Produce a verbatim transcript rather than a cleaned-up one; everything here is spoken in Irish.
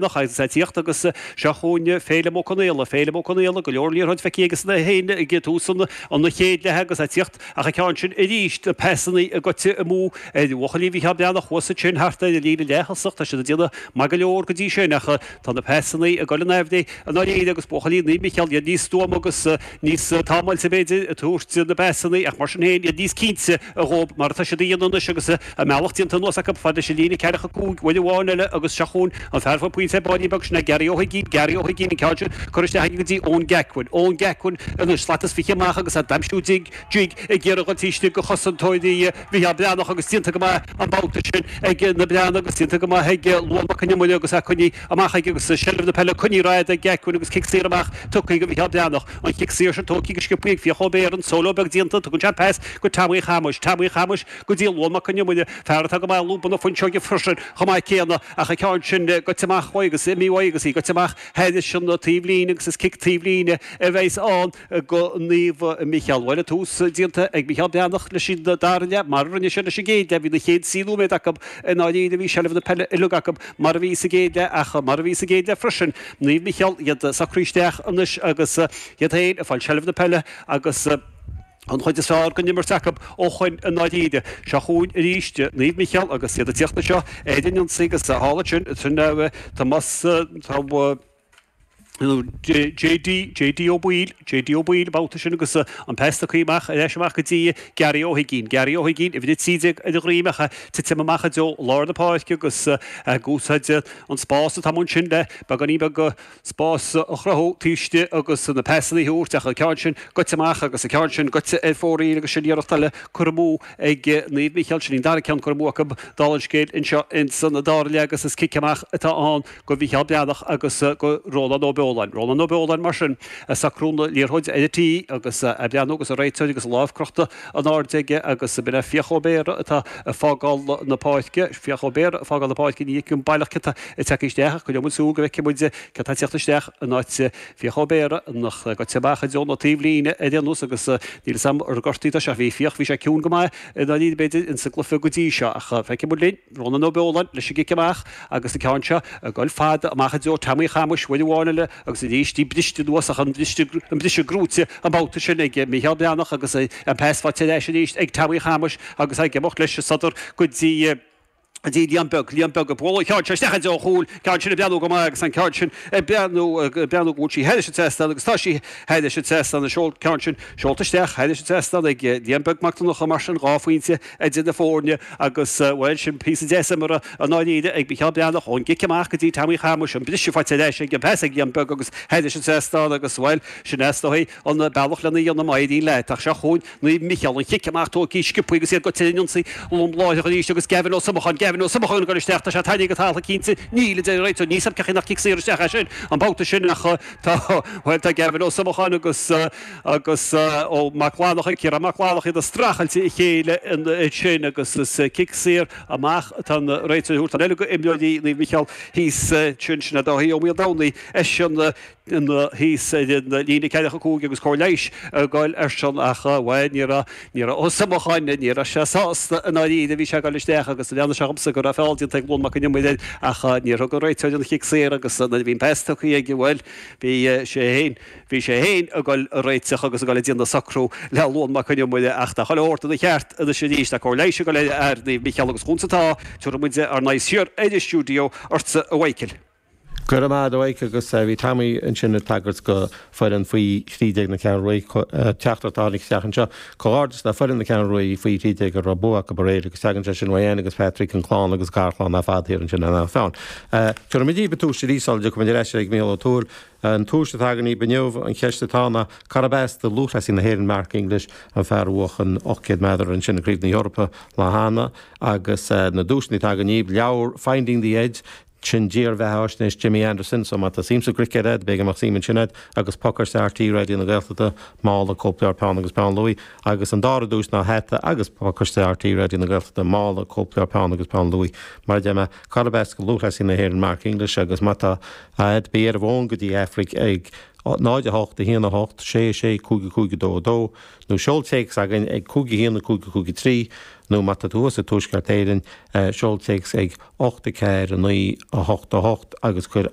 Agus é ag tíocht agus seo chugainn Féilim Ó Conaola, Féilim Ó Conaola, go leor liathróid feicthe aige san féin ag tús an chéad leath agus é ag tíocht ach an ceann sin arís na pasannaí goite amú ar bhuachaillí Mhícheál Breathnach thuas ansin thart ar an líne leath-thosach. Tá siad ag déanamh maith go leor go dtí sin ach tá na pasannaí ag dul in aimhréidh i ndáiríre agus buachaillí Naomh Micheál iad níos stuama agus níos támáilte b'fhéidir ag tabhairt na bpasannaí ach mar sin féin iad níos cinnte dhóib mar atá siad a dhéanamh anois agus a mbealach déanta anuas acu fad leis an líne ceathracha cúig uair amháin eile agus seo chugainn an fear faoi pointe báinín beag sin é Gary Ó hUiginn, Gary Ó hUiginn an ceann sin curtha isteach aige go dtí Eoin Gacquin, Eoin Gacquin anois slat is fiche amach agus é d'aimsiú jig, jig ag iarraidh dhul taobh istigh de chosantóirí Mhicheál Breathnach agus déanta go maith an babhta sin ag na Breathnaigh agus déanta go maith ag Luan Mac Con Iomaire agus é coinnithe amach aige agus seilbh na peile coinnithe ar fhad ag Gacquin agus cic saor amach tugtha go Mhicheál Breathnach. An chic saor sin tógtha go sciobtha ag Fiach Ó Béarra, an solo beag déanta, tugann sé pas go Tommy Chamais, Tommy Chamais go dtí Luan Mac Con Iomaire, fear atá go maith lúbadh na fuinseoige freisin chomh maith céanna ach an ceann sin goite amach uaidh agus imithe uaidh agus í goite amach thairis an taobhlíne agus is cic taobhlíne a bheas ann go Naomh Micheál. Bhuel, an tús déanta ag Micheál Breathnach leis an dara leath mar a rinne sé leis an gcéad leath. Bhí na chéad trí nóiméad acu i ndáiríre, bhí seilbh na peile uilig acu mar a bhí sa gcéad leath ach mar a bhí sa gcéad leath freisin, Naomh Micheál iad socraithe isteach anois agus iad féin ag fáil seilbh na peile agus an chuid is fearr den imirt acu ó shoin i ndáiríre. Seo chugainn arís Naomh Micheál agus iad ag tíocht anseo ar an ionsaí agus thall ansin, sin Tomás, tá JD, JD Ó Baoill, JD Ó Baoill an babhta sin agus an pas tugtha amach ar ais amach go dtí Gary Ó hUiginn, Gary Ó hUiginn, uimhir a trí déag ar a dhroim ach titim amach i dtreo lár na páirce agus ag úsáid an spás atá amuigh ansin le beagáinín beag spás a chruthú taobh istigh agus na pasanna a thabhairt ach an ceann sin goite amach agus an ceann sin goite ar fóraoil agus sin iarracht eile curtha amú ag Naomh Micheál. Sin an dara ceann curtha amú acu dála an scéil anseo ins an dara leath agus is cic amach atá ann go Mhicheál Breathnach agus go Rónán Ó Beoláin. Rónán Ó Beoláin mar sin ag socrú na liathróide ar an tí agus ag breathnú agus an réiteoir agus a lámh crochta in airde aige agus b'in é Fiach Ó Béarra atá ag fágáil na páirce. Fiach Ó Béarra ag fágáil na páirce ní fheicim baileach cé tá ag teacht isteach ach coinneoidh muid súil go bhfeicfidh muid cé tá ag teacht isteach in áit Fiach Ó Béarra nach goite amach i dtreo na taobhlíne ar aon nós agus níl fhios a'm ar gortaíodh é seo. Bhí Fiach, bhí sé ciúin go maith i ndáiríre b'fhéidir insa gcluiche go dtí seo ach feicfidh muid linn. Rónán Ó Beoláin leis an gcic amach agus an ceann seo ag goil fada amach i dtreo Tommy Chamais uair amháin eile agus arís í briste anuas ach an briseadh gnóite an babhta sin ag Mícheál Breathnach agus an pas faighte ar ais arís ag Tommy Chamais agus ag imeacht leis an sodar go dtí go dtí Liam Beag, Liam Beag ag bualadh an ceann seo isteach i dtreo an chúil, ceann sin ag breathnú go maith agus an ceann sin ag breathnú, ag breathnú go bhfuil sí thairis an trasnán agus tá sí thairis an trasnán, an ceann sin seolta isteach thairis an trasnán ag Liam Beag Mac Donncha mar sin dhá phointe idir na foirne agus, bhuel, sin píosa deas imeartha i ndáiríre ag Micheál Breathnach ón gcic amach go dtí Tommy Chamais, an briseadh faighte ar ais ag an pas ag Liam Beag agus thairis an trasnán agus, bhuel, sin é is dóigh an bealach lena dhéanamh má éiríonn leat. Ach seo chugainn Naomh Micheál, an chic amach tógtha sciobtha agus iad goite ar an ionsaí lom láithreach arís agus Gavin Ó Somacháin, Gavin Ó Somacháin ag dul isteach, tá sé tarraingthe go talamh cinnte, níl, a deir an réiteoir, níl 's a'm cén chaoi nach cic saor isteach é sin an babhta sin ach tá, bhuel tá Gavin Ó Somacháin agus, agus Ó Mac Fhlannchadha, Ciarán Mac Fhlannchadha iad ag streachailt a chéile ansin agus is cic saor amach atá an réiteoir a thabhairt. Tá eile go imreoirí Naomh Micheál thíos ansin, sin é Dáithí Ó Maoldomhnaigh, eisean, ina thíos ar an líne ceathracha cúig agus cóir leighis ag goil airsean ach, bhuel, ní raibh, ní raibh Ó Somacháin, ní raibh sé sásta i ndáiríre, bhí sé ag goil isteach agus bhreathnaigh sé dhomsa go raibh feall déanta ag Luan Mac Con Iomaire air ach níor thug an réiteoir an chic saor agus nuair a bhí an pas tugtha aige, bhuel, bhí sé féin, bhí sé féin ag goil a réiteach agus ag goil ag déanamh socrú le Luan Mac Con Iomaire ach tá chuile shórt ina cheart anois arís, tá cóir leighis ag goil ar fhear Naomh Micheál agus chúns atá, tabharfaidh muid ár n-aghaidh siar ar an stiúideo ortsa a Mhichael. Go raibh maith agat a Mhaidhc agus bhí Tommy ansin ag tagairt go foireann faoi thrí déag na Ceathrún Rua, teachtaireacht a tháinig isteach anseo. Comhghairdeas le foireann na Ceathrún Rua faoi thrí déag a raibh bua acu aréir agus tagann sé sin ó Anne agus Patrick, an clann agus garchlann ar fad thiar ansin in Eanach Mheáin. Tabharfaidh muid daoibh an tomhas arís sula dtiocfaidh muid ar ais ag Mícheál Ó Tuathail. An tomhas atá againn daoibh inniu, an cheist atá ná cárb as do lúthchleasaí na hÉireann Mark English, an fear a bhuaigh an ocht gcéad méadar ansin i gCraobh na hEorpa lá cheana agus na duaiseanna atá againn daoibh, leabhar Finding the Edge, Sin dírbheathaisnéis Jimmy Anderson, so má tá suim sa gcruicéad a'd, b'fhéidir go mbeadh suim ansin a'd, agus pacáiste RTÉ Raidió na Gaeltachta, mála, cóipleabhar, peann agus peann luaidhe, agus an dara duais ná hata agus pacáiste RTÉ Raidió na Gaeltachta, mála, cóipleabhar, peann agus peann luaidhe. Mar a deir mé, cárb as do lúthchleasaí na hÉireann Mark English agus má tá a'd, bí ar an bhfón go dtí Aifric ag náid a hocht a haon a hocht sé sé cúig cúig dó dó nó seol téacs againn ag cúig haon cúig cúig trí nó má tá tú sa Tuaisceart Éireann seol téacs ag ocht a ceathair naoi a hocht a hocht agus cuir